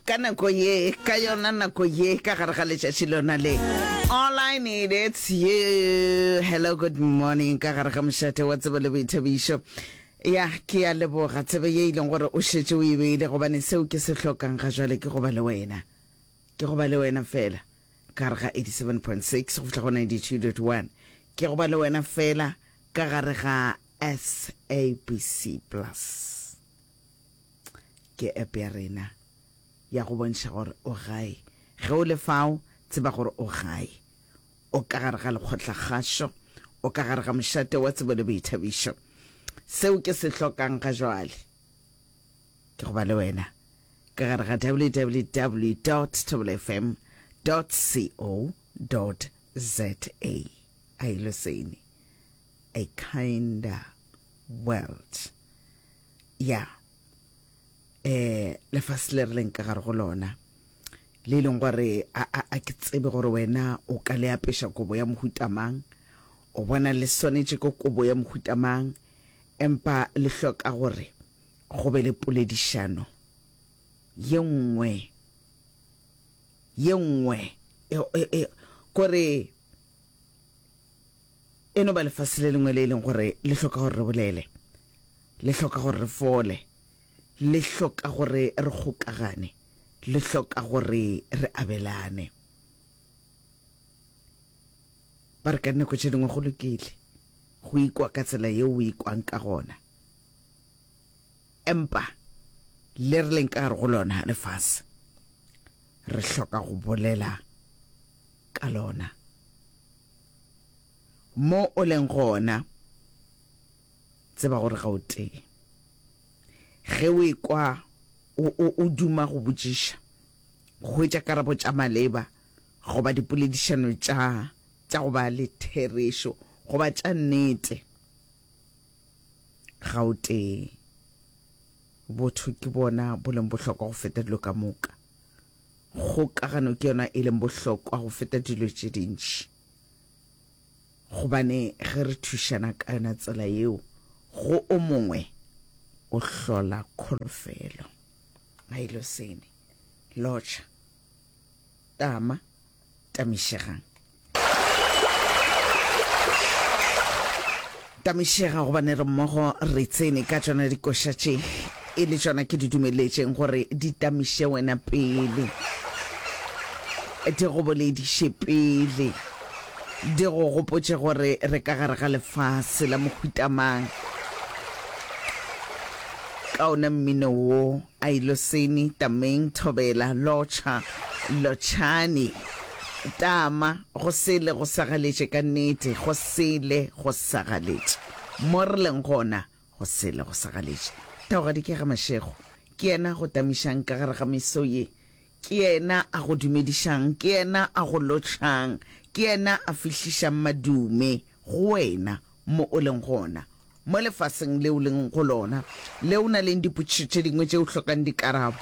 Ka nako ye, ka yona nako ye, ka gare ga letšatši lona le. All I need it's you. Hello, good morning, ka gare ga mošate wa tsebo le boithabišo. Ya, ke a leboga tsebe ye e leng gore o šetše o e beile, gobane seo ke se hlokang ga jwale ke go ba le wena. Ke go ba le wena fela, ka gare ga 87.6 go fihla go 92.1. Ke go ba le wena fela ka gare ga SABC Plus. Ke app ya rena ya go bontšha gore o gae. Ge o le fao, tseba gore o gae. O ka gare ga lekgotlakgašo, o ka gare ga mošate wa tsebo le boithabišo. Seo ke se hlokang ga jwale ke go ba le wena ka gare ga www dot thobelafm dot co dot za. Ailoseni, a kinder world. Ya, eh, lefase le re leng ka gare go lona, le e leng gore a, a, a ke tsebe gore wena o ka le apeša kobo ya mohuta mang, o bona le swanetše ke kobo ya mohuta mang, empa le hloka gore go be le poledišano ye nngwe, ye nngwe, e, e, e, kore e no ba lefase le lengwe le e leng gore le hloka gore re bolele, le hloka gore re fole, le hloka gore re kgokagane, le hloka gore re abelane. Ba re ka dinako tše dingwe go lokile go ikwa ka tsela yeo o ikwang ka gona, empa le re leng ka gare go lona lefase re hloka go bolela ka lona. Mo o leng gona, tseba gore ga o tee. Ge o ekwa o, o, o duma go botšiša, go hwetša karabo tša maleba goba dipoledišano tša, tša go ba le therešo goba tša nnete, ga o tee. Botho ke bona bo leng bohlokwa go feta dilo ka moka. Kgokagano ke yona e leng bohlokwa go feta dilo tše dintši. Gobane ge re thušana ka yona tsela yeo, go o mongwe o hlola kholofelo. Mailosene, Lotšha, Tama, Tamišegang. Tamišega gobane re mmogo re tsene ka tšona dikoša tše e le tšona ke di dumeletšeng gore di tamiše wena pele, di go bolediše pele, di go gopotše gore re ka gare ga lefase la mohuta mang. Ka ona mmino wo, Ailoseni, Tameng, Thobela, Lotšha, Lotšhani. Tama, go sele go sagaletše ka nnete, go sele go sagaletše. Mo re leng gona, go sele go sagaletše. Taugadi ke ga Mashego. Ke yena a go tamišang ka gare ga meso ye. Ke yena a go dumedišang, ke yena a go lotšhang, ke yena a fihlišang madume go wena mo o leng gona. Mo lefaseng le o leng go lona, le o na leng dipotšišo tše dingwe tše o hlokang dikarabo.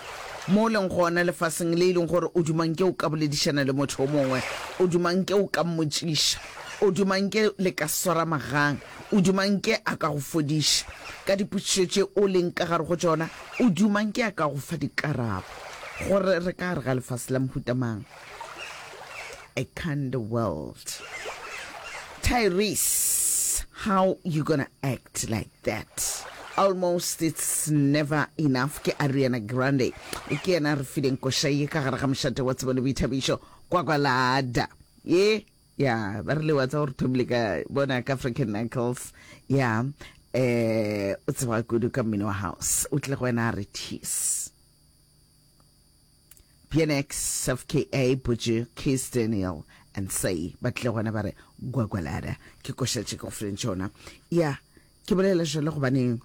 Mo o leng gona lefaseng le e leng gore o duma nke o ka boledišana le motho o mongwe, o duma nke o ka mmotšiša, o duma nke le ka swara magang, o duma nke a ka go fodiša ka dipotšišo tše o leng ka gare go tšona, o duma nke a ka go fa dikarabo. Gore re ka gare ga lefase la mohuta mang? A kind world. Tyrese, how you gonna act like that? Almost it's never enough ke Ariana Grande. Ke yena a re fileng koša ye ka gare ga mošate wa tsebo le boithabišo Kwakwalada. Ye ya ba re le wa tsa gore thomile ka bona ka African Knuckles. Ya eh o tseba kudu ka mmino wa house. O tle go wena a re tease. BNX, FKA, Buju, Kiss Daniel and Say ba tlile gona ba re Gwagwalada ke koša tše ke go fileng tšona. Ya, ke bolela jalo gobane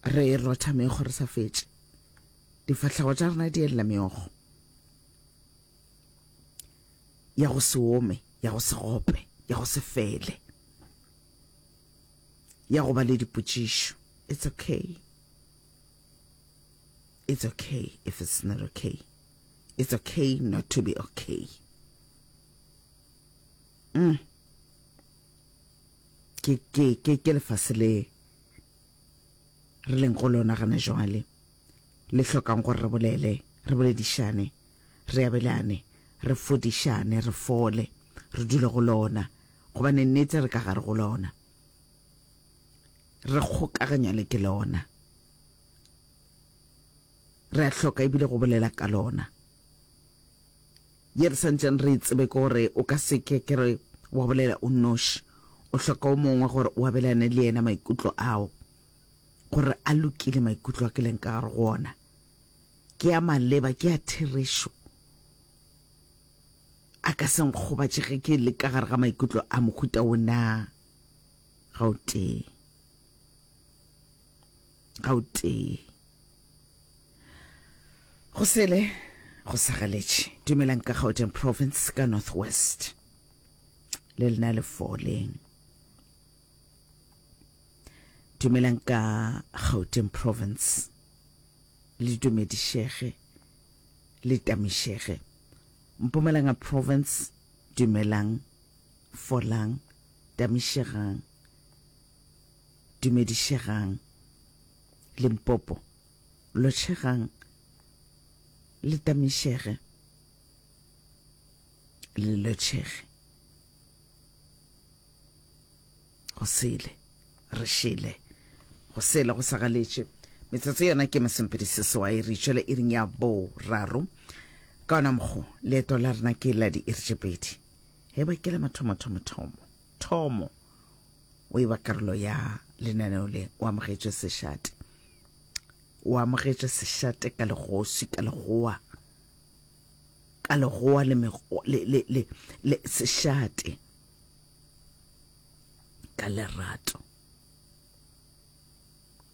re rotha meokgo re sa fetše. Difahlego tša rena di elela meokgo ya go se ome, ya go se gope, ya go se fele, ya go ba le dipotšišo. It's okay. It's okay if it's not okay. It's okay not to be okay. Mm. Ke ke ke ke lefase le re leng go lona gana jwale. Le hlokang gore re bolele, re boledišane, re abelane, re fodišane, re fole, re dule go lona, gobane nnete re ka gare go lona. Re kgokaganywa le ke lona. Re a hloka ebile go bolela ka lona. Ye re santšeng re e tsebe ke gore o ka se ke ke re wa bolela o nnoši. O hloka o mongwe gore o abelane le yena maikutlo ao, gore a lokile maikutlo a ke leng ka gare go ona. Ke a maleba, ke a therešo. A ka se nkgobatše ge ke le ka gare ga maikutlo a mohuta wo na? Ga o tee. Ga o tee. Go sele go sagaletše. Dumelang ka Gauteng Province ka North West. Le lena le foleng. Dumelang ka Gauteng Province. Le dumedišege. Le tamišege. Mpumalanga Province dumelang folang tamišegang dumedišegang. Limpopo Lotšhegang le tamišege le lotšhege. Go sele re šele go sele go sagaletše. Metsotso yona ke masomepedi seswai re itšwele iring ya boraro. Ka ona mokgo leeto la rena ke la diiri tše pedi. He ba ke la mathomo thomo thomo thomo o e ba karolo ya lenaneo le o amogetšwe sešate. O amogetšwe sešate ka legosi, ka legoa, ka legoa le, mego, le, le, le, le sešate ka lerato.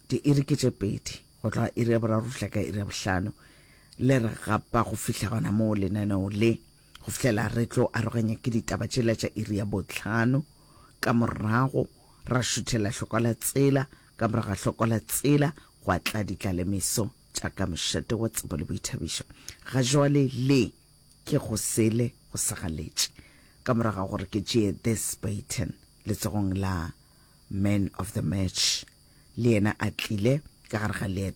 Diiri ke tše pedi go tloga iri ya boraro go fihla ka iri ya bohlano le re gapa go fihla gona moo lenaneo le go fihlela re tlo aroganya ke ditaba tšela tša iri ya bohlano ka morago ra šuthela hlokwa la tsela Ka morago ga hloko la tsela gwa tla ditlalemeso tša ka mošate wa tsebo le boithabišo. Ga jwale le ke go sele go sagaletše. Ka morago ga gore ke tšee This Baton letsogong la Man of the Match, le yena a tlile ka gare ga leeto.